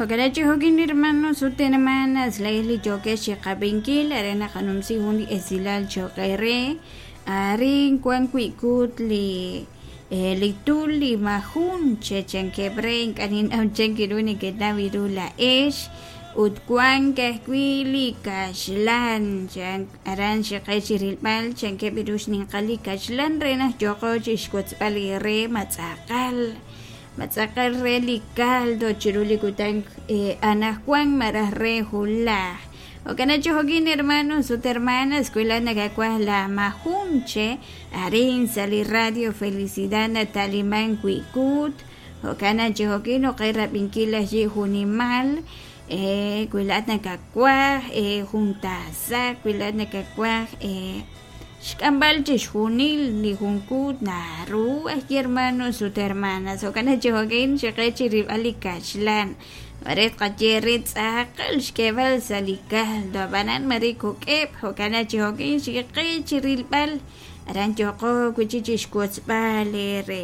Jo'kan chi jo'kin hermanos ut hermanas laa'ex li yookex chiqab'inkil aran naqanumsi jun li esilal cho'q eere arin wan wi' kuut li li tul li majun che chankeb' re ink'a' ninnaw chan ru nekenaw ru laa'ex ut wank ajwi' li kaxlan chan aran xiqe chi rilb'al chankeb' ru xninqal li kaxlan re naq yooqo chixwotzb'al eere ma tz'aqal ma tz'aqal re li caldo chiru li kutan anaqwan malaj re wulaj. Jo'kan chi jo'kin hermanos ut hermanas wi laa'at nakawaj la majun che arin sa' li Radio Felicidad nata'liman wi' kuut jo'kan chi jo'kin oqe rab'inkil ajwi' junimal wi laa'at nakawaj jun taasak wi laa'at nakawaj xk'amb'al chixjunil li jun kuut naru ajwi' hermanos ut hermanas jo'kan chi jo'kin xiqe chi rilb'al li kaxlan mare tqaye re tz'aqal xk'eeb'al sa' li caldo ab'anan mare kok'eb' jo'kan chi jo'kin xiqe chi rilb'al aran yooqo wi' chik chixwotzb'al eere.